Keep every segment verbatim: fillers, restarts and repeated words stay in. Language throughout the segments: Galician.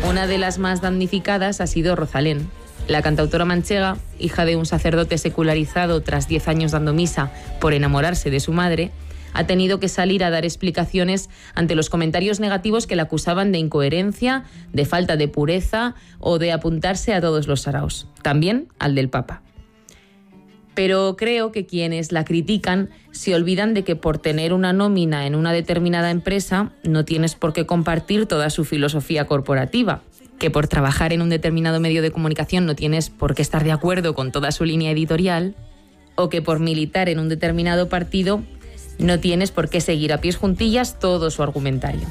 Una de las más damnificadas ha sido Rosalén. La cantautora manchega, hija de un sacerdote secularizado tras diez años dando misa por enamorarse de su madre, ha tenido que salir a dar explicaciones ante los comentarios negativos que la acusaban de incoherencia, de falta de pureza o de apuntarse a todos los saraos, también al del Papa. Pero creo que quienes la critican se olvidan de que por tener una nómina en una determinada empresa no tienes por qué compartir toda su filosofía corporativa, que por trabajar en un determinado medio de comunicación no tienes por qué estar de acuerdo con toda su línea editorial, o que por militar en un determinado partido no tienes por qué seguir a pies juntillas todo su argumentario.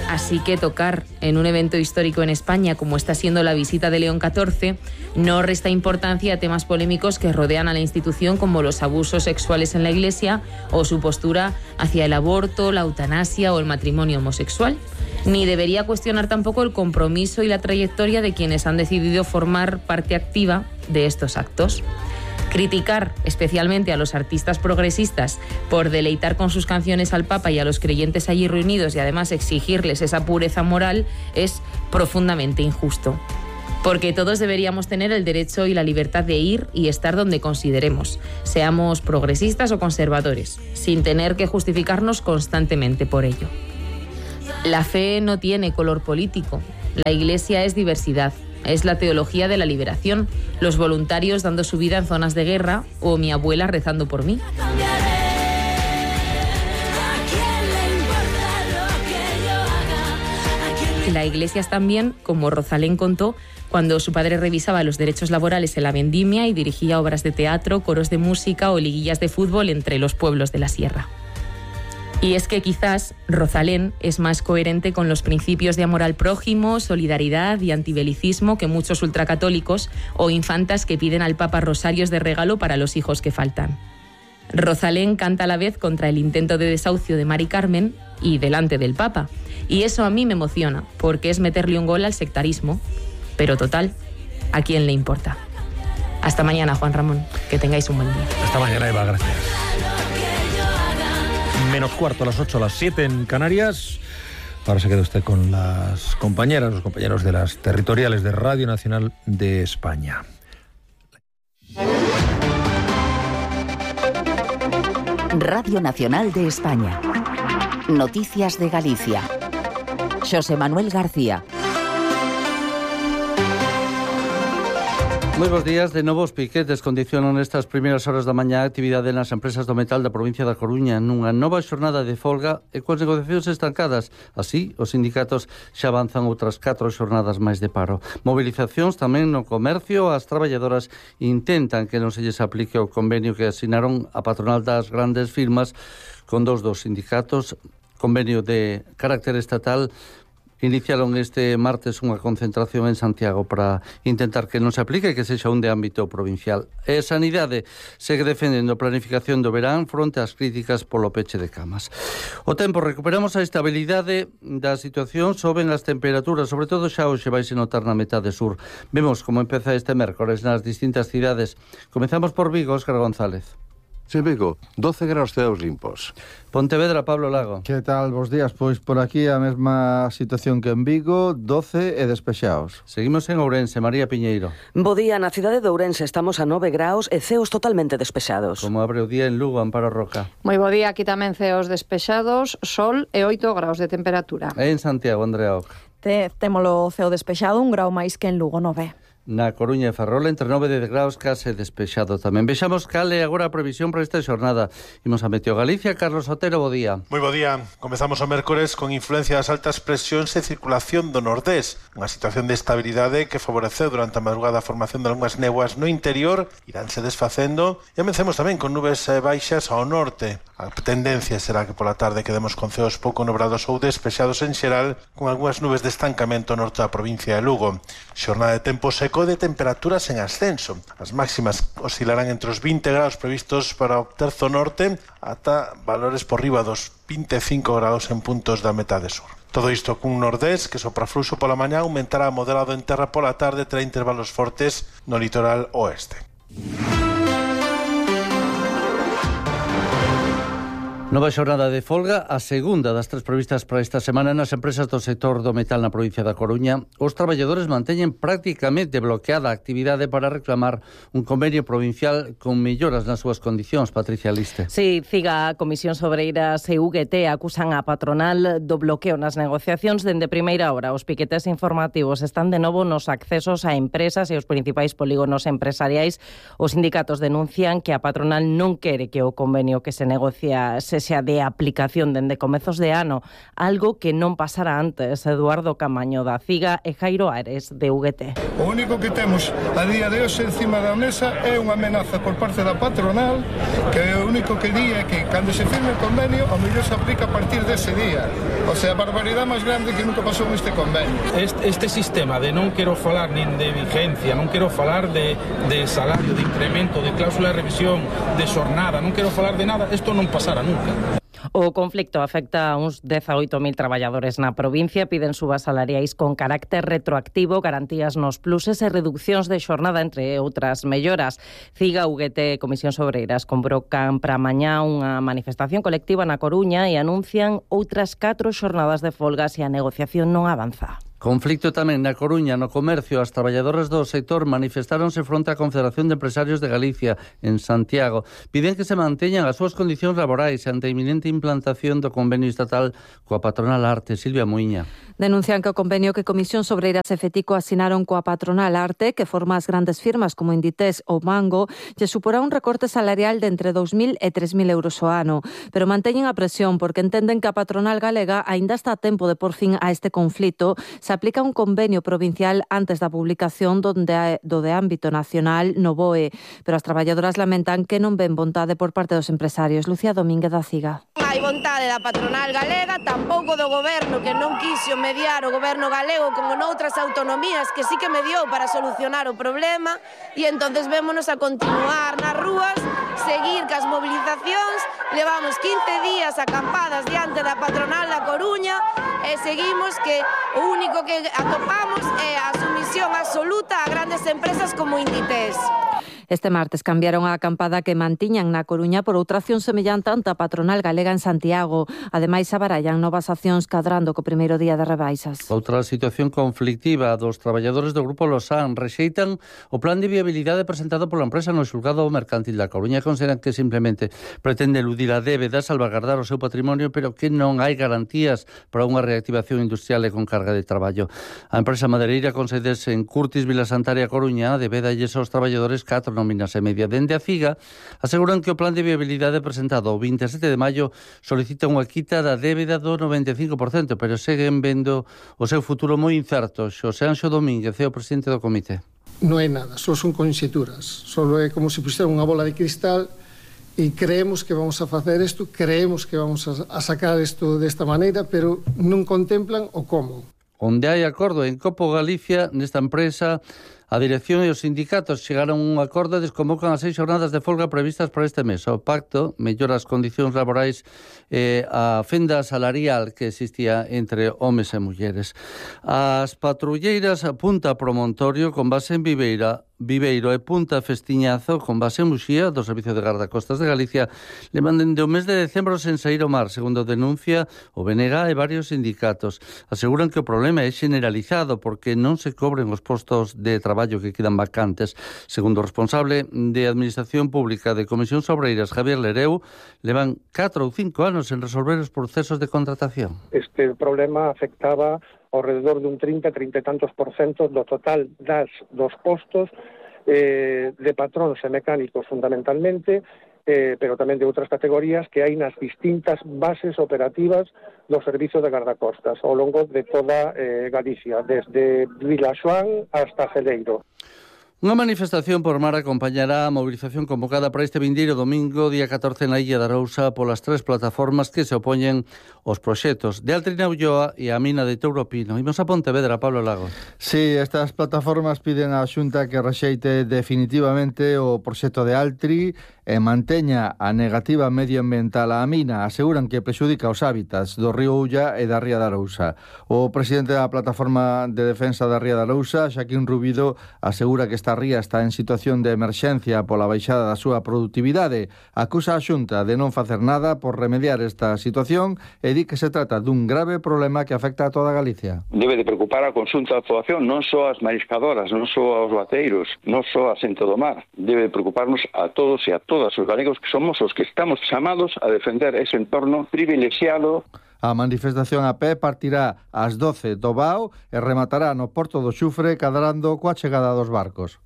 Así que tocar en un evento histórico en España, como está siendo la visita de León catorce, no resta importancia a temas polémicos que rodean a la institución, como los abusos sexuales en la Iglesia o su postura hacia el aborto, la eutanasia o el matrimonio homosexual. Ni debería cuestionar tampoco el compromiso y la trayectoria de quienes han decidido formar parte activa de estos actos. Criticar especialmente a los artistas progresistas por deleitar con sus canciones al Papa y a los creyentes allí reunidos y además exigirles esa pureza moral es profundamente injusto. Porque todos deberíamos tener el derecho y la libertad de ir y estar donde consideremos, seamos progresistas o conservadores, sin tener que justificarnos constantemente por ello. La fe no tiene color político, la Iglesia es diversidad. Es la teología de la liberación, los voluntarios dando su vida en zonas de guerra o mi abuela rezando por mí. La Iglesia es también, como Rosalén contó, cuando su padre revisaba los derechos laborales en la vendimia y dirigía obras de teatro, coros de música o liguillas de fútbol entre los pueblos de la sierra. Y es que quizás Rosalén es más coherente con los principios de amor al prójimo, solidaridad y antibelicismo que muchos ultracatólicos o infantas que piden al Papa rosarios de regalo para los hijos que faltan. Rosalén canta a la vez contra el intento de desahucio de Mari Carmen y delante del Papa. Y eso a mí me emociona, porque es meterle un gol al sectarismo. Pero total, ¿a quién le importa? Hasta mañana, Juan Ramón. Que tengáis un buen día. Hasta mañana, Eva. Gracias. Menos cuarto, a las ocho, a las siete en Canarias. Ahora se queda usted con las compañeras, los compañeros de las territoriales de Radio Nacional de España. Radio Nacional de España. Noticias de Galicia. Xosé Manuel García. Moi bons días. De novo, os piquetes condicionan estas primeiras horas da mañá a actividade nas empresas do metal da provincia da Coruña nunha nova xornada de folga e coas negociacións estancadas. Así, os sindicatos xa avanzan outras catro xornadas máis de paro. Movilizacións tamén no comercio. As traballadoras intentan que non se lles aplique o convenio que asinaron a patronal das grandes firmas con dos dos sindicatos, convenio de carácter estatal. Iniciaron este martes unha concentración en Santiago para intentar que non se aplique e que sexa un de ámbito provincial. E Sanidade segue defendendo a planificación do verán fronte ás críticas polo peche de camas. O tempo, recuperamos a estabilidade da situación, soben as temperaturas, sobre todo xa hoxe vaise notar na metade sur. Vemos como empeza este mércores nas distintas cidades. Comezamos por Vigo, Óscar González. Sí, Vigo, doce graus ceos limpos. Pontevedra, Pablo Lago. Que tal, bos días? Pois por aquí a mesma situación que en Vigo, doce e despexados. Seguimos en Ourense, María Piñeiro. Bo día, na cidade de Ourense estamos a nove graus e ceos totalmente despexados. Como abre o día en Lugo, Amparo Roca. Moi bo día, aquí tamén ceos despexados, sol e oito graus de temperatura. E en Santiago, Andrea Oca. Te, témolo ceo despexado, un grau máis que en Lugo, nove. Na Coruña e Ferrol, entre nove e dez graus, case despexado tamén. Vexamos cal é agora a previsión para esta xornada. Imos a Meteo Galicia. Carlos Otero, bo día. Moi bo día. Comezamos o mércores con influencia das altas presións e circulación do nordés. Unha situación de estabilidade que favoreceu durante a madrugada a formación de algunhas néboas no interior, iránse desfacendo. E amencemos tamén con nubes baixas ao norte. A tendencia será que pola tarde quedemos con ceos pouco nubrados ou despexados en xeral, con algunhas nubes de estancamento ao norte da provincia de Lugo. Xornada de tempo seco de temperaturas en ascenso. As máximas oscilarán entre os vinte graus previstos para o terzo norte ata valores por riba dos vinte e cinco graus en puntos da metade sur. Todo isto cun nordés que sopra fluxo pola mañá, aumentará moderado en terra pola tarde, terá intervalos fortes no litoral oeste. Nova xornada de folga, a segunda das tres previstas para esta semana nas empresas do sector do metal na provincia da Coruña. Os traballadores manteñen prácticamente bloqueada a actividade para reclamar un convenio provincial con melloras nas súas condicións. Patricia Liste. Sí, Ciga, Comisión Sobreiras e U G T acusan a patronal do bloqueo nas negociacións dende primeira hora. Os piquetes informativos están de novo nos accesos a empresas e os principais polígonos empresariais. Os sindicatos denuncian que a patronal non quere que o convenio que se negocia se xa de aplicación dende comezos de ano, algo que non pasara antes. Eduardo Camaño da Ciga e Jairo Ares de U G T. O único que temos a día de hoxe encima da mesa é unha amenaza por parte da patronal, que o único que di é que cando se firme o convenio o mellor se aplica a partir dese día. O sea, a barbaridade máis grande que nunca pasou neste convenio. Este, este sistema de non quero falar nin de vigencia, non quero falar de, de salario, de incremento, de cláusula de revisión, de xornada, non quero falar de nada, isto non pasará nunca. O conflicto afecta a uns dezaoito mil traballadores na provincia. Piden subas salariais con carácter retroactivo, garantías nos pluses e reduccións de xornada, entre outras melloras. Ciga, U G T e Comisión Sobreiras convocan para mañá unha manifestación colectiva na Coruña e anuncian outras catro xornadas de folga se a negociación non avanza. Conflicto tamén na Coruña, no comercio. As traballadoras do sector manifestáronse fronte á Confederación de Empresarios de Galicia en Santiago. Piden que se manteñan as súas condicións laborais ante a inminente implantación do convenio estatal coa patronal Arte. Silvia Muiña. Denuncian que o convenio que Comisión Sobreiras e Fetico asinaron coa patronal Arte, que forma as grandes firmas como Inditex ou Mango, lle suporá un recorte salarial de entre dous mil e tres mil euros ao ano. Pero manteñen a presión porque entenden que a patronal galega aínda está a tempo de por fin a este conflito. Se aplica un convenio provincial antes da publicación donde do de ámbito nacional no B O E, pero as traballadoras lamentan que non ven vontade por parte dos empresarios. Lucía Domínguez da Ciga. Hai vontade da patronal galega, tampouco do goberno, que non quixo mediar o goberno galego como noutras autonomías que sí que mediou para solucionar o problema, e entonces vémonos a continuar nas rúas, seguir cas movilizacións. Levamos quince días acampadas diante da patronal da Coruña e seguimos que o único que atopamos é a sumisión absoluta a grandes empresas como Inditex. Este martes cambiaron a acampada que mantiñan na Coruña por outra acción semellante ante a patronal galega en Santiago. Ademais, abarallan novas accións cadrando co primeiro día de rebaixas. Outra situación conflictiva dos traballadores do Grupo Losan rexeitan o plan de viabilidade presentado pola empresa no xulgado mercantil da Coruña. Consideran que simplemente pretende eludir a débeda, salvaguardar o seu patrimonio, pero que non hai garantías para unha reactivación industrial e con carga de traballo. A empresa madereira con sedes en Curtis, Vila Santaria, Coruña, debedalles aos traballadores catro nóminas e media. Dende a Ciga aseguran que o plan de viabilidade presentado o vinte e sete de maio solicita unha quita da débeda do noventa e cinco por cento, pero seguen vendo o seu futuro moi incerto. Xosé Anxo Domínguez é o presidente do comité. Non é nada, só son conxeturas. Só é como se pusera unha bola de cristal e creemos que vamos a facer isto, creemos que vamos a, a sacar isto desta maneira, pero non contemplan o como. Onde hai acordo en Copo Galicia, nesta empresa, a dirección e os sindicatos chegaron a un acordo e desconvocan as seis xornadas de folga previstas para este mes. O pacto mellora as condicións laborais e a fenda salarial que existía entre homes e mulleres. As patrulleiras Punta Promontorio, con base en Viveira, Viveiro e Punta Festiñazo, con base en Muxía, do Servicio de Gardacostas de Galicia, le manden de o mes de decembro sen sair ao mar, segundo denuncia o B N G e varios sindicatos. Aseguran que o problema é generalizado porque non se cobren os postos de traballo que quedan vacantes. Segundo o responsable de Administración Pública de Comisión Sobreiras, Javier Lereu, levan catro ou cinco anos en resolver os procesos de contratación. Este problema afectaba ao redor dun trinta, trinta e tantos por cento do total das dos postos eh, de patróns e mecánicos fundamentalmente, eh, pero tamén de outras categorías que hai nas distintas bases operativas do Servizo de Gardacostas ao longo de toda eh, Galicia, desde Vilaxoán hasta Celeiro. Unha manifestación por mar acompañará a movilización convocada para este vindeiro domingo, día catorce, na Illa de Arousa, polas tres plataformas que se opoñen aos proxectos de Altri na Ulloa e a mina de Touropino. Imos a Pontevedra, Pablo Lago. Sí, estas plataformas piden á Xunta que rexeite definitivamente o proxecto de Altri e manteña a negativa medioambiental á mina. Aseguran que prexudica os hábitats do río Ulla e da Ría de Arousa. O presidente da plataforma de defensa da Ría de Arousa, Xaquín Rubido, asegura que está esta ría está en situación de emerxencia pola baixada da súa produtividade. Acusa a Xunta de non facer nada por remediar esta situación e di que se trata dun grave problema que afecta a toda Galicia. Debe de preocupar a conxunta da poboación, non só as mariscadoras, non só aos baceiros, non só a xente do mar. Debe de preocuparnos a todos e a todas os galegos que somos os que estamos chamados a defender ese entorno privilexiado. A manifestación a pé partirá ás doce do Bao e rematará no Porto do Xufre, cadrando coa chegada dos barcos.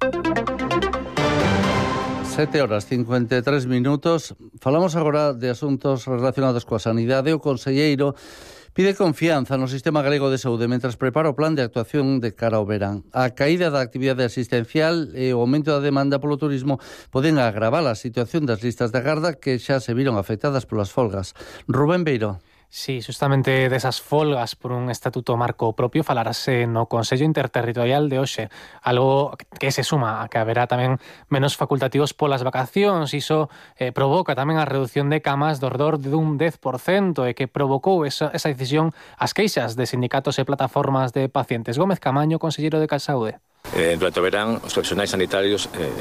sete horas cincuenta e tres minutos. Falamos agora de asuntos relacionados coa sanidade. O conselleiro pide confianza no sistema galego de saúde mentras prepara o plan de actuación de cara ao verán. A caída da actividade asistencial e o aumento da demanda polo turismo poden agravar a situación das listas de agarda que xa se viron afectadas polas folgas. Rubén Beiro. Sí, justamente desas folgas por un estatuto marco propio falarase no Consello Interterritorial de hoxe, algo que se suma a que haberá tamén menos facultativos polas vacacións. Iso eh, provoca tamén a reducción de camas do redor dun dez por cento e que provocou esa, esa decisión as queixas de sindicatos e plataformas de pacientes. Gómez Camaño, conselleiro de Calsaúde. Eh, durante o verán, os profesionais sanitarios eh,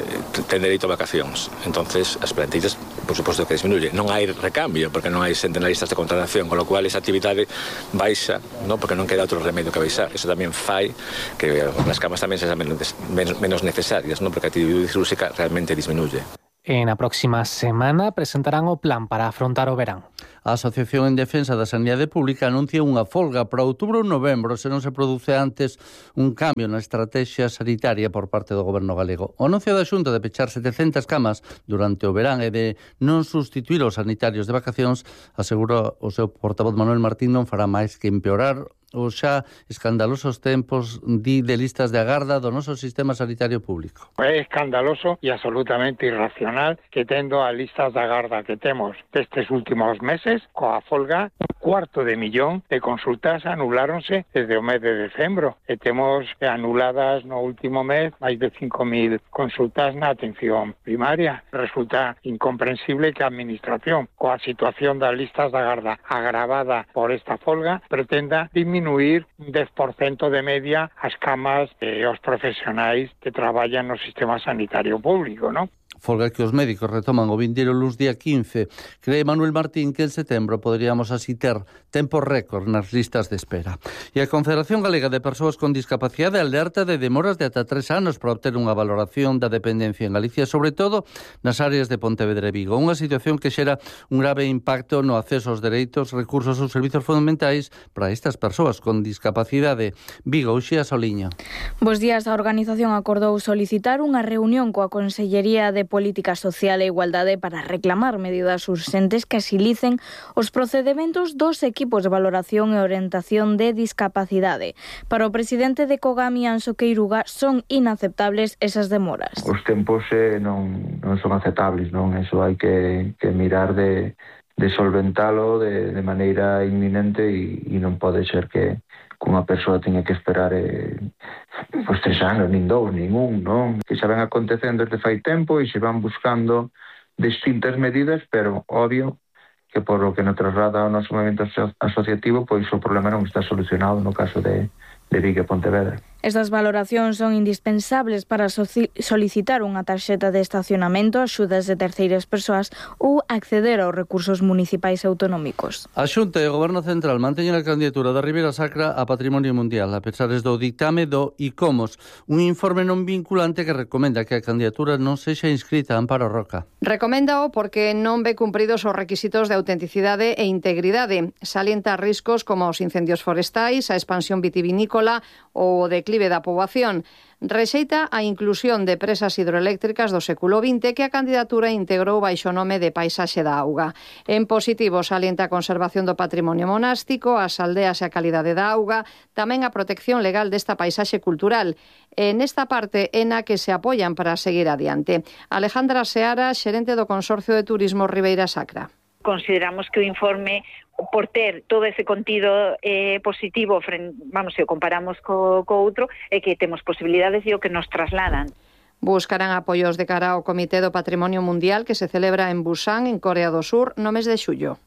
ten dereito a vacacións. Entonces, as plantillas, por suposto que disminuye. Non hai recambio, porque non hai xente na listas de contratación, con lo cual esa actividade baixa, ¿no? Porque non queda outro remedio que baixar. Eso tamén fai que as camas tamén sexan menos, menos necesarias, ¿no? Porque a actividade cirúrxica realmente disminuye. En a próxima semana presentarán o plan para afrontar o verán. A Asociación en Defensa da Sanidade Pública anuncia unha folga para outubro ou novembro se non se produce antes un cambio na estrategia sanitaria por parte do Goberno galego. O anuncio da Xunta de pechar setecentas camas durante o verán e de non sustituir os sanitarios de vacacións, asegura o seu portavoz Manuel Martín, non fará máis que empeorar os xa escandalosos tempos di de listas de agarda do noso sistema sanitario público. É escandaloso e absolutamente irracional que tendo as listas de agarda que temos destes últimos meses, coa folga, un cuarto de millón de consultas anuláronse desde o mes de decembro e temos anuladas no último mes máis de cinco mil consultas na atención primaria. Resulta incomprensible que a Administración, coa situación das listas de agarda agravada por esta folga, pretenda disminuir un dez por cento de media as camas e os profesionais que traballan no sistema sanitario público, ¿no? Folga que os médicos retoman o vindeiro luns día quince. Cree Manuel Martín que en setembro poderíamos así ter tempo récord nas listas de espera. E a Confederación Galega de Persoas con Discapacidade alerta de demoras de ata tres anos para obter unha valoración da dependencia en Galicia, sobre todo nas áreas de Pontevedra e Vigo. Unha situación que xera un grave impacto no acceso aos dereitos, recursos ou servizos fundamentais para estas persoas con discapacidade. Vigo, Uxía Soliño. Bos días, a organización acordou solicitar unha reunión coa Consellería de Política Social e Igualdade para reclamar medidas urxentes que asilicen os procedementos dos equipos de valoración e orientación de discapacidade. Para o presidente de Cogami, Anxo Queiruga, son inaceptables esas demoras. Os tempos eh, non, non son aceptables, non? Eso hai que, que mirar de, de solventalo de, de maneira inminente e, e non pode ser que unha persoa teña que esperar eh, pois tres anos, nin dous, nin un, non? Que xa ven acontecendo desde fai tempo e se van buscando distintas medidas, pero obvio que por lo que nos traslada ao noso movimento asociativo, pois o problema non está solucionado no caso de, de Vigo e Pontevedra. Estas valoracións son indispensables para solicitar unha tarxeta de estacionamento, axudas de terceiras persoas ou acceder aos recursos municipais autonómicos. A Xunta e o Goberno Central manteñen a candidatura da Ribeira Sacra a Patrimonio Mundial, a pesar do dictame do ICOMOS, un informe non vinculante que recomenda que a candidatura non sexa inscrita a Amparo Roca. Recoméndao porque non ve cumpridos os requisitos de autenticidade e integridade. Salienta riscos como os incendios forestais, a expansión vitivinícola ou o declive da poboación. Rexeita a inclusión de presas hidroeléctricas do século vinte que a candidatura integrou baixo o nome de Paisaxe da Auga. En positivo, salienta a conservación do patrimonio monástico, as aldeas e a calidade da auga, tamén a protección legal desta paisaxe cultural. E nesta parte é na que se apoian para seguir adiante. Alejandra Seara, xerente do Consorcio de Turismo Ribeira Sacra. Consideramos que o informe, por ter todo ese contido eh, positivo, vamos, se o comparamos co, co outro, é que temos posibilidades e o que nos trasladan. Buscarán apoios de cara ao Comité do Patrimonio Mundial que se celebra en Busan, en Corea do Sur, no mes de xullo.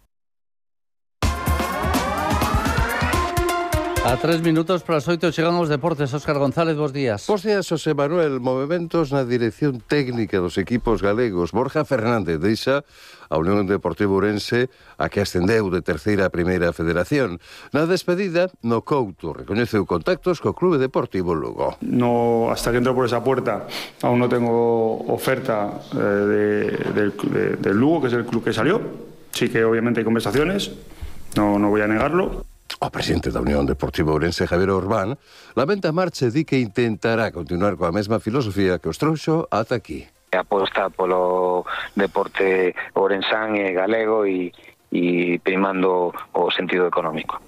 A tres minutos para as oito chegan os deportes. Óscar González, bos días. Bos días, José Manuel. Movementos na dirección técnica dos equipos galegos. Borja Fernández deixa a Unión Deportiva Ourense, a que ascendeu de terceira a primeira federación. Na despedida, no Couto recoñeceu contactos co Clube Deportivo Lugo. No, hasta que entro por esa puerta, aún no tengo oferta eh, de, de, de, del Lugo, que es el club que salió. Sí que obviamente hay conversaciones, no, no voy a negarlo. O presidente da Unión Deportiva Ourense, Javier Orbán, lamenta a marcha e di que intentará continuar coa mesma filosofía que os trouxo ata aquí. Aposta polo deporte ourensán e galego e, e primando o sentido económico.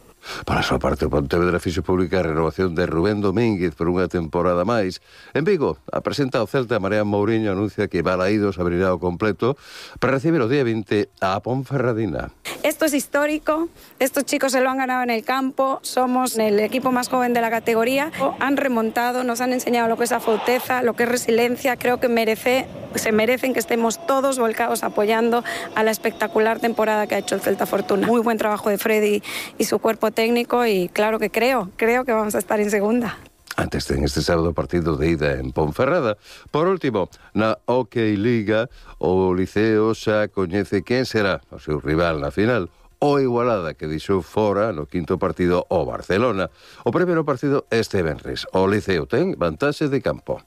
Para a súa parte, o Pontevedra fixo pública a renovación de Rubén Domínguez por unha temporada máis. En Vigo, a presenta o Celta, Marián Mourinho anuncia que Balaídos abrirá o completo para recibir o día veinte a Ponferradina. Esto es histórico, estos chicos se lo han ganado en el campo, somos el equipo más joven de la categoría, han remontado, nos han enseñado lo que es afauteza, lo que es resiliencia, creo que merece, se merecen que estemos todos volcados apoyando a la espectacular temporada que ha hecho el Celta Fortuna. Muy buen trabajo de Freddy y su cuerpo técnico y claro que creo, creo que vamos a estar en segunda. Antes ten este sábado partido de ida en Ponferrada. Por último, na Hockey Liga, o Liceo xa coñece quen será o seu rival na final. O Igualada, que deixou fora no quinto partido o Barcelona. O primeiro partido este venres. O Liceo ten vantaxe de campo.